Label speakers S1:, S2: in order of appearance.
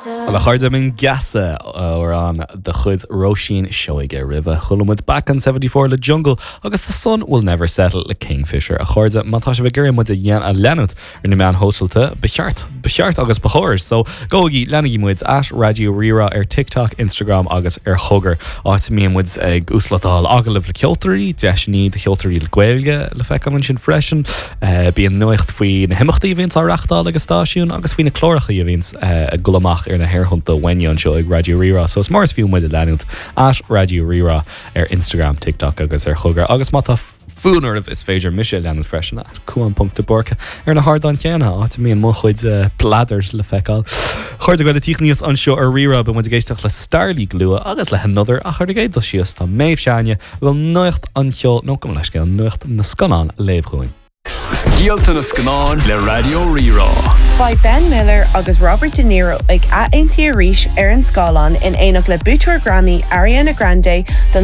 S1: Bhuel, a chairde, b'in Geasa, amhrán de chuid Róisín Seoige. Roimhe, chuala muid Back on 74 le Jungle agus The Sun Will Never Settle le Kingfisher. A chairde, má tá sibh ag iarraidh muid a leanúint ar na meáin shóisialta, ba cheart, ba cheart agus ba chóir. So, gabhaigí, leanaigí muid at Raidió Rí-Rá ar TikTok, Instagram agus ar Chogar, áit a mbíonn muid ag uaslódáil agallaimh le ceoltóirí, deiseanna do cheoltóirí le Gaeilge le feiceáil ansin freisin. Bíonn nuacht faoi na himeachtaí a bhíonns á reachtáil ag an stáisiún agus faoi na cláracha a bhíonns ag dul amach ar na haerthonnta uainne anseo ag Raidió Rí-Rá. So is mór is fiú muid a leanúint at Raidió Rí-Rá ar Instagram, TikTok agus ar Chogar. Agus má tá fonn oraibh is féidir mise a leanúint freisin at Cuan ponc de Búrca ar na hardáin chéanna, áit a mbíonn mo chuid bladair le feiceáil. A chairde, ag tíocht aníos anseo ar Rí-Rá beidh muid ag éisteacht le Starleague go luath agus le hAnother ach ar an gcéad dul síos tá Méabh s'againne a bhfuil nuacht an cheoil, nó gabh mo leithscéal, nuacht na scannán a léamh dhúinn.
S2: Scéalta na Scannán le Raidió Rí-Rá.
S3: Beidh Ben Miller agus Robert De Niro ag athaontú arís ar an scáileán in éineacht le buaiteoir Grammy Ariana Grande don.